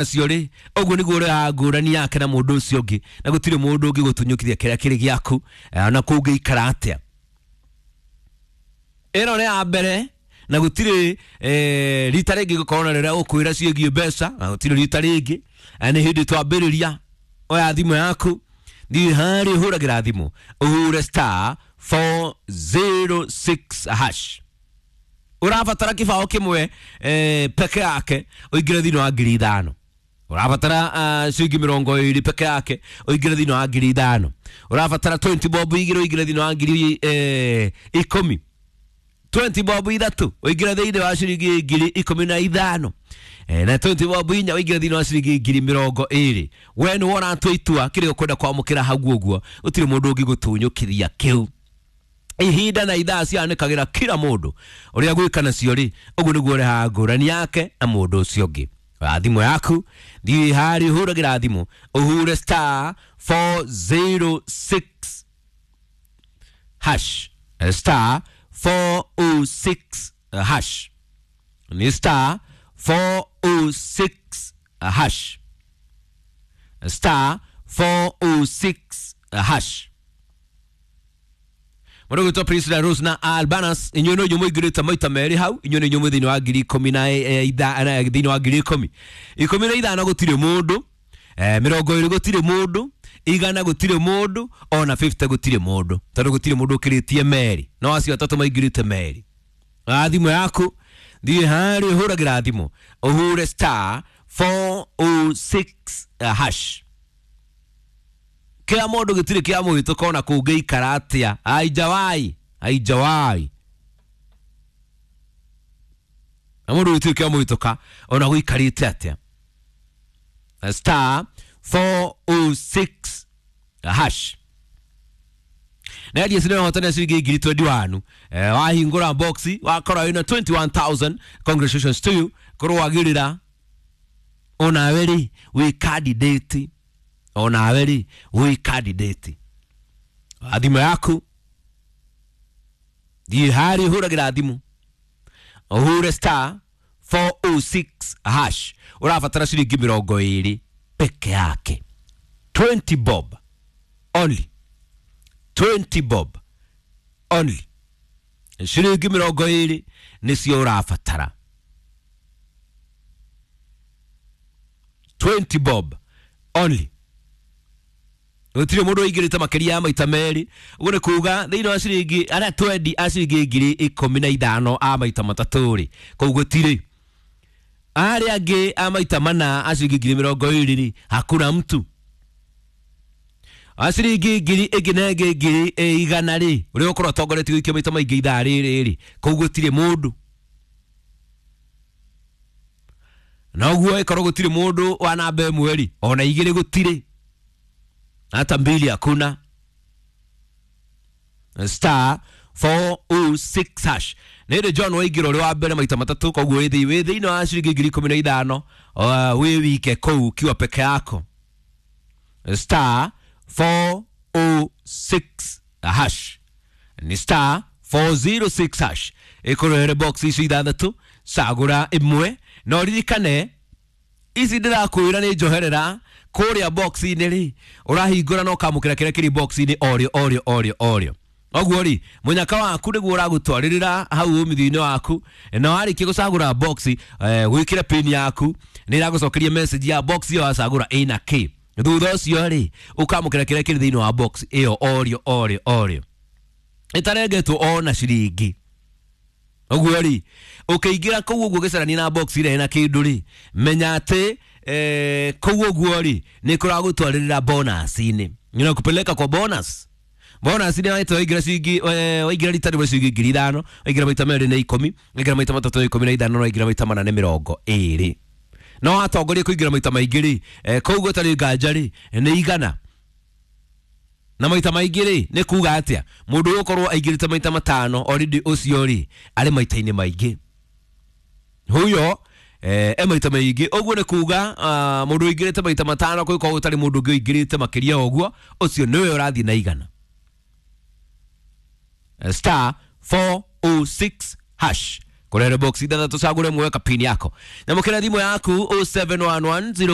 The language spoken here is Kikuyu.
Nacio rĩ, ũguo nĩguo ũrĩa ngũrani yake na mũndũ ũcio ũngĩ, na gũtirĩ mũndũ ũngĩ gũtunyũkithia kĩrĩa kĩrĩ gĩaku, ona kũngĩikara atĩa. Ĩno nĩ ya mbere, na gũtirĩ rita rĩngĩ gũkorwo na rĩrĩa ũkwĩra ciĩgiĩ mbeca, na gũtirĩ rita rĩngĩ. Nĩ hĩndĩ twambĩrĩria. Oya thimũ yaku, thiĩ harĩa ũhũragĩra thimũ, ũhũre star 406 hash. Ũrabatara kĩbaũ kĩmwe peke yake ũingĩre thĩinĩ wa 5,000. Ũrabatara ciringi 20 peke yake ũingĩre thĩinĩ wa 5,000. Ũrabatara 20 bob 2 ũingĩre thĩinĩ wa 10,000. 20 bob 3 ũingĩre thĩinĩ wa ciringi 15,000. Na 20 bob 4 ũingĩre thĩinĩ wa ciringi 20,000. We nĩ ũratua itua kĩrĩa ũkwenda kwamũkĩra hau ũguo, gũtirĩ mũndũ ũngĩgũtunyũkithia kĩu. Ihinda na ithaa cianĩkagĩra kila mũndũ ũrĩa gwĩka nacio rĩ, ũguo nĩguo ũrehaga ngũrani yake na mũndũ ũcio ũngĩ. Oya thimũ yaku, thiĩ harĩa ũhũragĩra thimũ, ũhure star 406 hash. Star 406 hash. Ni star 406 hash. Star 406 hash. Mũndũ gwĩtwo Priscilla Rose na Albanas, inyuĩ no inyuĩ mũingĩrĩte maita merĩ hau, inyuĩ nĩ inyuĩ mwĩ thĩinĩ wa ngiri ikũmi na thĩinĩ wa 10,000. 15 gũtirĩ mũndũ, 20 gũtirĩ mũndũ, 100 gũtirĩ mũndũ, ona 50 gũtirĩ mũndũ, tondũ gũtirĩ mũndũ ũkĩrĩtie merĩ. No acio atatũ maingĩrĩte merĩ. Oya thimũ yaku, thiĩ harĩa ũhũragĩra thimũ, ũhure star 406 hash. Kila mũndũ gĩtirĩ kĩa mũhĩtũka ona kũngĩikara atĩa. Aijawai, aijawai. Na mũndũ gĩtirĩ kĩa mũhĩtũka ona gũikarĩte atĩa. Star 406 hash. Na ndiye sinema hotana ciringi ngiri 21. Wahingũra box wakora wĩna 21,000. Congratulations to you. Korwo wagĩrĩra onawe rĩ wĩ candidate. Onawe rĩ wĩ candidate. Thimũ yaku, thiĩ harĩa ũhũragĩra thimũ, ũhure star 406 hash. Ũrabatara ciringi 20 peke yake. 20 bob only. 20 bob only. Ciringi 20 nĩcio ũrabatara. 20 bob only. Gũtirĩ mũndũ ũingĩrĩte makĩria ya maita merĩ. Ũguo nĩ kuga thĩinĩ wa ciringi arĩa twendi a ciringi 15,000 a maita matatũ rĩ, kũu gũtirĩ. Arĩa angĩ a maita mana a ciringi 20,000 rĩ, hakuna mtu. A ciringi ngiri ĩngĩ na ĩngĩ 100,000 rĩ, ũrĩa ũkorwo ũtongoretie gũikia maita maingĩ ithaa rĩrĩ rĩ, kũu gũtirĩ mũndũ. Na ũguo ĩkorwo gũtirĩ mũndũ wa namba ĩmwe rĩ, ona 2 gũtirĩ. Hata 2 hakuna. Star 406 hash. Nĩ John waingĩra ũrĩ wa mbere maita matatũ, koguo wĩ thĩinĩ wa ciringi 15,000, wĩ wike kũu ukiwa peke yako. Star 406 hash. Ni star 406 hash. Ĩkũrehere box ici 6, cagũra ĩmwe, na ũririkane ici ndĩrakwĩra nĩ njoherera kũrĩa box-inĩ rĩ, ũrahingũra na ũkamũkĩra kĩrĩa kĩrĩ box-inĩ orĩo orĩo orĩo orĩo. Ũguo rĩ, mũnyaka waku nĩguo ũragũtwarĩrĩra hau ũmithio-inĩ waku, na warĩkia gũcagũra box, gwĩkĩra pin yaku, nĩ ĩragũcokeria message ya box ĩyo wacagũra ĩna kĩ. Thutha ũcio rĩ, ũkamũkĩra kĩrĩa kĩrĩ thĩinĩ wa box ĩyo orĩo orĩo orĩo. Ĩtarengetwo ona ciringi. Ũguo rĩ, ũkĩingĩra kũu ũguo ũgĩcarania na box ĩrĩa ĩna kĩndũ rĩ, menya atĩ kũu ũguo rĩ, nĩ kũragũtwarĩrĩra bonus-inĩ. Inakupeleka kwa bonus. Bonus nĩ waitwo waingĩra ciringi, waingĩra rita rĩmwe ciringi 5,000, waingĩra maita merĩ nĩ 10, waingĩra maita matatũ nĩ 15, na waingĩra maita mana nĩ 20. No watongoria kũingĩra maita maingĩ rĩ, kũu gũtarĩ nganja rĩ, nĩ 100. Na maita maingĩ rĩ, nĩ kuga atĩa? Mũndũ ũgũkorwo aingĩrĩte maita 5 already ũcio rĩ, arĩ maita-inĩ maingĩ. Huyo e maita maingĩ. Ũguo nĩ kuga mũndũ ũingĩrĩte maita 5 kũngĩkorwo gũtarĩ mũndũ ũngĩ ũingĩrĩte makĩria ũguo, ũcio nĩwe ũrathiĩ na 100. Star 406 hash. Kũrehere box ithathatũ, cagũre mwe kapini yako. Nyamũkĩra thimũ yaku 0711.